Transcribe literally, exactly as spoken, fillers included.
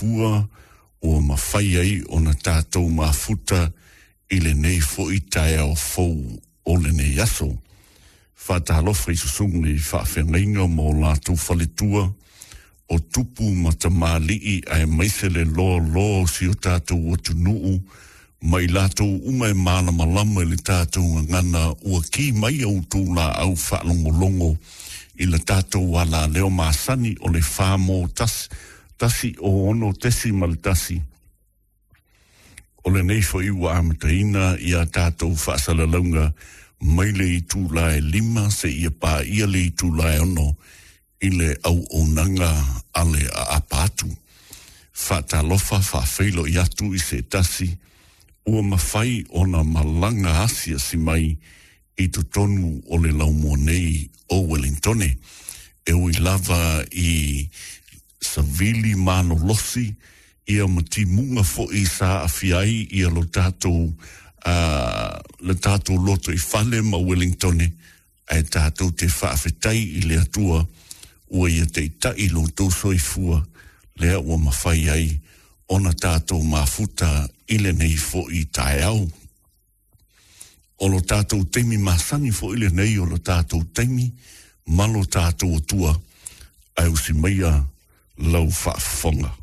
soifua ua mafai ai ona tatou mafuta i lenei fo'i taeao fou o lenei aso. Faatalofa i susuga i faafeagaiga ma o latou faletua o tupu ma tamalii aemaise le loaloa o si o tatou atunuu ma i latou uma e malamalama i le tatou gagana ua ki mai a outou laau faalogologo i le tatou alaleo masani o le fa mo tasi tasi o ono tesi ma le tasi. O lenei fo'i ua amataina ia tatou faasalalauga mai le itula e lima seia paia le itula e ono i le auaunaga a le aapa atu. Faatalofa faafeiloai atu i se tasi ua mafai ona malaga asiasi mai i totonu o le laumua nei o Wellingtone. E ui lava i savili malolosi ia ma timuga fo'i sa aafia ai ia lo tatou uh, le tatou loto i fale ma Wellingtone, ae tatou te faafetai i le Atua ua ia taita'i lo outou soifua lea ua mafai ai ona tatou mafuta i lenei fo'i taeao. O lo tatou taimi masani fo'i lenei o lo tatou taimi ma lo tatou Atua, ae usi maia lau faafofoga.